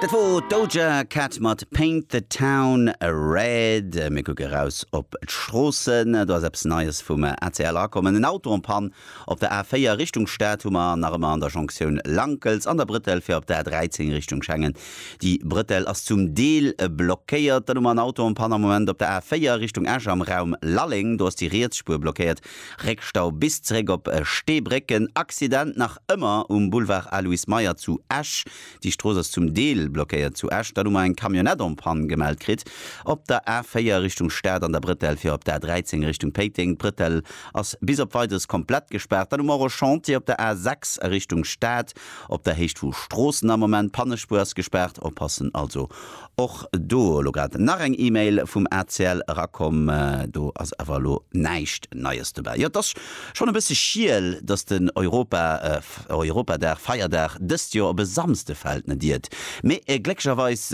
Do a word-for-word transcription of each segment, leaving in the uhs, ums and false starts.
Dat wor Doja Cat mat Paint the Town Red. Mir kucke raus op d'Stroossen. Do ass eppes Neies vum A C L erakomm. En Auto en panne op der A véier Richtung Stad hu mer nach ëmmer an der Jonktioun Lankels an der Brëttel fir op der A dräizéng Richtung Schengen. Déi Brëttel ass zum Deel blockéiert. Dann hu mer en Auto en panne am Moment op der A véier Richtung Esch am Raum Lalleng. Do ass déi riets Spuer blockéiert. Réckstau bis zeréck op Steebrécken. Accident nach ëmmer um Boulevard Aloyse Meyer zu Esch. Déi Strooss ass zum Deel blockéiert zu Esch. Dann hu mer eng Camionnette en panne gemellt kritt op der A véier Richtung Stad an der Brëttel fir op der A dräizéng Richtung Péiteng. D'Brëttel ass bis op Weideres komplett gespaart. Dann hu mer och e Chantier op der A sechs a Richtung Stad op der Héicht vu Stroossen am Moment. Pannespuer ass gespaart. Oppassen also och do. Elo grad nach eng E-Mail vum A C L erakomm. Do ass awer elo näischt Neies dobäi. Jo, et ass schonn e bësse schiel, dass den Europa Europadag, Feierdag dëst Joer op e Samsde fält, net iert. Mee glécklecherweis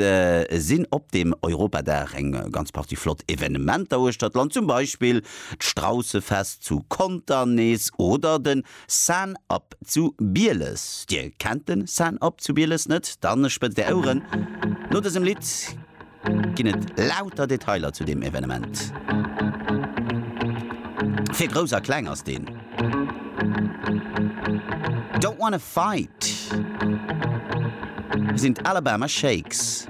sinn op deem Europadag eng ganz Partie flott Evenementer uechter d'Land, zum Beispill d'Straussefest zu Conter nees oder den Sun-Up zu Bieles. Dir kennt den Sun-Up zu Bieles net? Dann spëtzt är Oueren. No dësem Lidd ginn et lauter Detailer zu deem Evenement. Fir Grouss a Kleng ass deen. Don't Wanna Fight sinn d'Alabama Shakes.